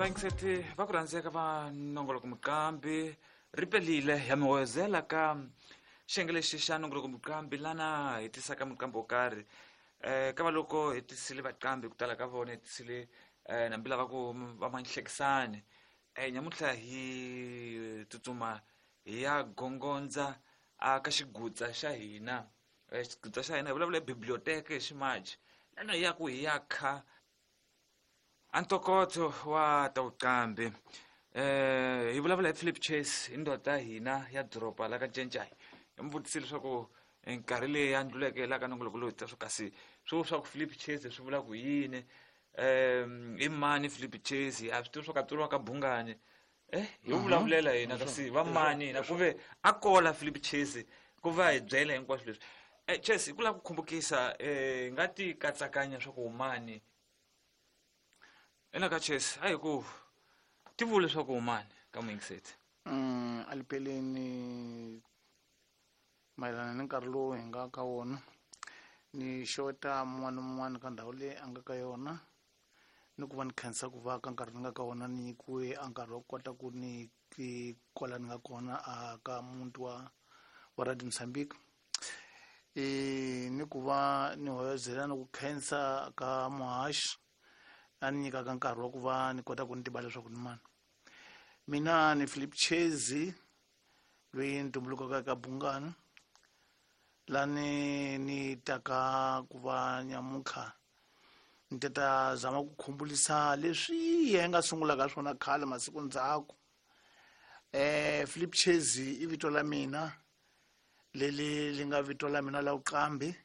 Vayingiseti va ku rhandzeka va nongoloko muqambi, ri pelile ya mi hoyozela ka xiyenge lexi xa nongoloko muqambi, lana hi tisaka muqambi wo karhi. Ka va loko hi tisile vaqambi ku tala ka vona, hi tisile nambi lava ku va manhlekisani. Nyamuntlha hi tsutsuma hi ya gongondza a ka xigutsa xa hina. Xigutsa xa hina hi vulavula hi biblioteke hi ximaji, lana hi ya ku hi ya kha a ntokoto wa ta vuqambi. Hi vulavula hi Philip Chase, hi ndoda ya hina ya doroba la ka Ncencai. Hi mi vutisile leswaku nkarhi leyi ya ndluleke la ka nongoloko lowu ta swo kasi swo swa ku Philip Chase swi vula ku yini, i mani Philip Chase, a swi tivi swo ka tsuriwa ka Bungani. Hi vulavulela hina kasi va mani hina, ku ve a kola Philip Chase ku va hi byela hinkwaswo leswi. Chase, hi ku lava ku khumbukisa, hi nga ti katsakanya swa ku mani ena ka Chase, a hi ku ti vule swa ku mani ka muyingiseti. Alipeleni mayelana ni nkarhi lowu hi nga ka wona, ni xeweta mun'wana na mun'wana ka ndhawu leyi a nga ka yona, ni ku va ni khensa ku va ka nkarhi ni nga ka wona, ni nyikiwe a nkarhi wa ku kota ku ni ti kwala ni nga kona a ka muti wa Radio Mozambique. Ni ku va ni hoyozela ni ku khensa ka muhaxi a ni nyikaka nkarhi wa ku va ni kota ku ni tiva leswaku ni mani. Mina ni Philip Chase, loyi ni tumbulukaka eka Bungani, lani ni taka ku va nyamuntlha ni ta ta zama ku khumbulisa leswi hi nga sungulaka swona khale masiku ndzhaku. Philip Chase i vito la mina leli li nga vito la mina la vuqambi,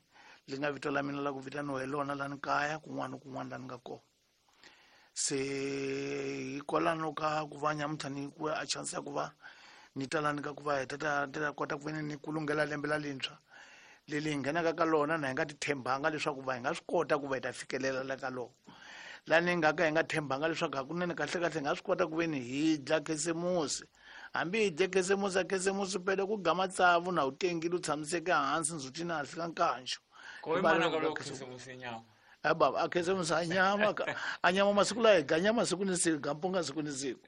li nga vito la mina la ku vitaniwa hi lona la ni kaya kun'wana na kun'wana la ni nga kona. Se hikwalano ka ku va nyamuntlha ni nyikiwe a chance ya ku va ni ta la ni ka ku va hi ta ta ta kota ku ve ni kulungela lembe la lintshwa leli hi nghenaka ka lona, na hi nga ti tshembanga leswaku va hi nga swi kota ku va hi ta fikelela la ka lona. La ni nga ka hi nga tshembanga leswaku hakunene kahle kahle hi nga swi kota ku ve ni hi dla Khisimusi. Hambi hi dye Khisimusi, a Khisimusi pele ku gama tsavu na u tengile u tshamiseke hansi ndzhutini a hlika nkanxo. Ko i mana ka loko Khisimusi nyama. A baba, a Khisimusi a nyama ka, a nyama masiku la hi ga nyama siku ni siku, ga mpunga siku ni siku.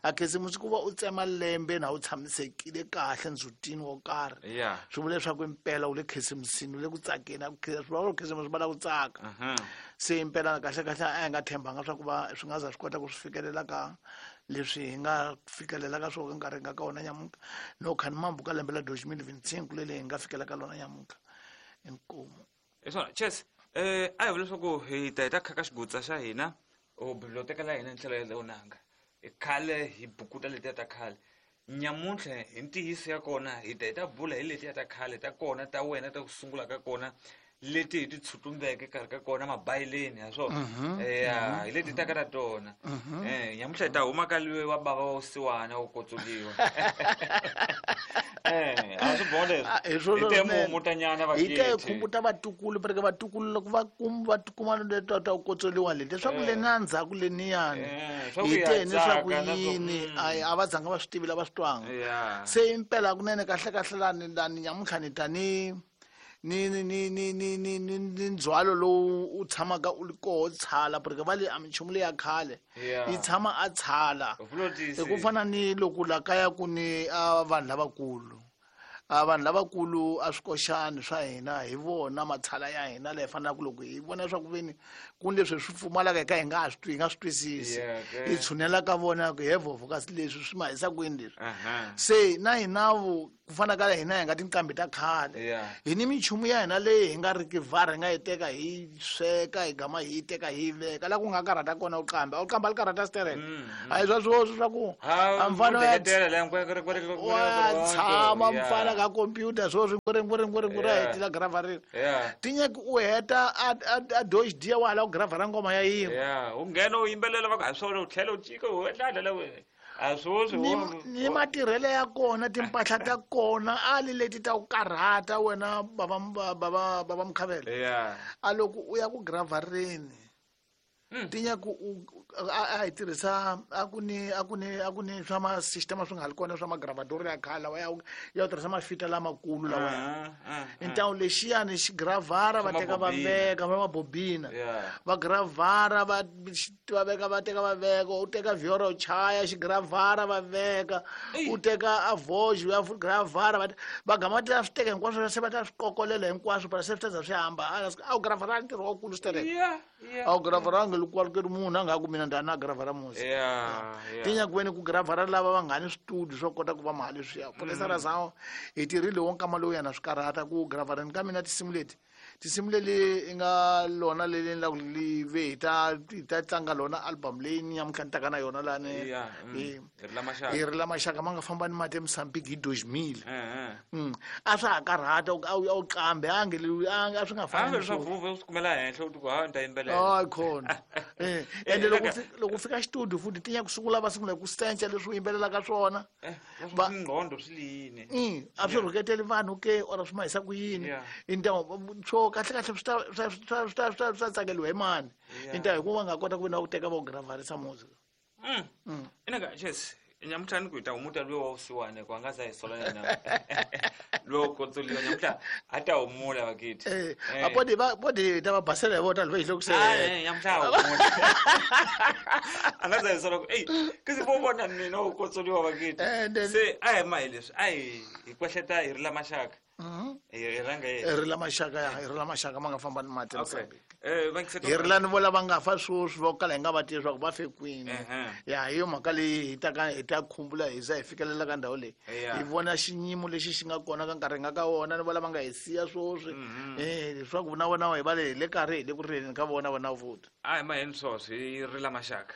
A Khisimusi ku va u tsema lembe na u tshamisekile kahle ndzhutini wo karhi. Swi vula leswaku impela u le Khisimusini, u le ku tsakeni, a ku swi vula Khisimusi va la ku tsaka. Se impela kahle kahle a hi nga tshembanga swa ku va swi nga za swi kota ku swi fikelela ka leswi hi nga fikelela ka swona nkarhi hi nga ka wona nyamuntlha. No kha ni mambu ka lembe la 2025 leli hi nga fikela ka lona nyamuntlha. Inkomu. Hi swona, Chase, a hi vula leswaku hi ta hi ta khaka xigutsa xa hina o biblioteka la hina hi ndlela ya leonanga. Hi khale hi bukuta letiya ta khale. Nyamuntlha hi ntiyiso ya kona hi ta hi ta bula hi letiya ta khale ta kona ta wena ta ku sungula ka kona leti hi ti tshutumbeke karhi ka kona mabayileni ha swona. Ya, hi leti taka ta tona. Nyamuntlha hi ta huma ka luwe wa bava wa vusiwana wo kotsuliwa. A swi boha leswi. Ah, hi swona Hi te swinene. mumutanyana Hi te vakethi. khumbuta vatukulu, pereke vatukulu loko va kum-, va tikuma le ta ta kotsoliwa leti, leswaku le na ndzhaku leniyani. Swa ku Hi ya te ni swa ku tsaka na swa yini, a a va zanga va swi tivi lava swi twanga. Se impela kunene kahle kahle lani, lani nyamuntlha ni ta ni, ni, ni, ni, ni, ni, ni, ni, ni ndzhwalo lowu u tshamaka u ri koho tshala, porque va le a minchumu leya khale. Yi tshama a tshala. U vula tiyisile. Hi ku fana ni loko la kaya ku ni a vanhu lavakulu. A vanhu lavakulu a swikoxani swa hina hi vona matshala ya hina laha hi fanelaka loko hi vona leswaku veni ku ni leswi hi swi pfumalaka hi ka hi nga ha swi twi, hi nga swi twisisi. Hi tshunela ka vona ku he vhovho kasi leswi swi ma hisa kwini leswi. Se na hina vo ku fana ka hina hi nga tinqambi ta khale. Hi ni minchumu ya hina leyi hi nga riki vhara hi nga yi teka hi sweka hi gama hi yi teka hi yi veka la ku nga karhata kona u qamba. U qamba li karhata sterek. A hi swa swoswi swa ku Ha, a mfana wa u deketela la, nkwe, nkwe, nkwe, nkwe, nkwe, wa nkwe, nkwe, tshama yeah. mfana ka computer swoswi nkwe, nkwe, nkwe, nkwe, a hetela gravharini. Ti nyaki u heta a doge dia wa hala ku gravhara ngoma ya yin'we. U nghena u yimbelela va ku ha swona u tlhela u cika u endla la wena. A swoswi wo- Ni matirhelo ya kona, timpahla ta kona, a li leti ta ku karhata wena bava Mkhavela. A loko u ya ku gravharini, ti nyaka A hi tirhisa a ku ni swa ma-system swi nga ri kona swa magravadoro ya khale lawa ya ku tirhisa mafita lamakulu lawaya. Ntawu lexiyani xigravhara va Swa teka va mabobina. veka va mabobina. Va gravhara, va veka, va teka, va veka. U teka vhiora, u chaya xigravhara, va veka. Ey. U teka avoji, u ya gravhara, va gama va ta swi teka hinkwaswo, se va ta swi kokolela hinkwaswo para se swi ta za swi hamba. A wu gravhara ntirho wakulu swi Yeah, yeah. a wu gravharangi loko munhu a nga ku mina ndani a gravhara musi. Tinyakweni ku gravhara lava va nga ni switudio swo kota ku va mali leswiya polisa ra zawo hi tirhile wo nkama lowu yana swi karhata ku gravhareni ka mina. Tinsimu leti, tinsimu leli i nga lona leli ni la ku li ve hi ta tlanga lona album leyi ni nyamuntlha ni taka na yona lani. Hi ri la maxaka. Hi ri la maxaka ma nga famba ni mati eMozambique hi 2000. Eh. A swa ha karhata a wu qambe a nge a swi nga fani. Hambi swa vuve u swi kumela henhla u ti ku ha ni ta yimbelela. Hayi khona. Ende loko u fika xitudio futhi tinya ku sungula va sungula hi ku sencha leswi u yimbelelaka swona. Ngqondo swi liyini. A swi rhuketeli vanhu ke or swi mahisa ku yini? Intawu swo kahle kahle swi ta tsakeliwa hi mani? Intawu hikuva va nga kota ku ve na ku teka va ku gravharisa music. Inaka ches nyamuntlha ni ku hi ta humuta luye wa vusiwana ku a nga za hi sola yena luye wo kotsoliwa nyamuntlha a ta humula vakithi. A podi va podi ta va basela hi vona loko hi loko se Nyamuntlha a humula a nga za hi sola ku eyi kasi vo vona mina wo kotsoliwa vakithi. Se a hi ma hi leswi a hi kwehleta hi ri la maxaka. Hi rhanga hi yena. Ri la maxaka ya hi ri la maxaka ma nga famba ni mati Okay. eMozambique. Vangiseti Hi ri lani vo lava nga fa sweswi vo kala hi nga va tivi leswaku va fe kwini. Ya hi yo mhaka leyi hi ta ka hi ta khumbula hi za hi fikelela ka ndhawu leyi. Hi vona xinyimo lexi xi nga kona ka nkarhi hi nga ka wona ni vo lava nga hi siya sweswi, leswaku na vona hi va le hi le karhi hi le ku rileni ka vona vona futhi. A hi maheni swoswo hi ri la maxaka.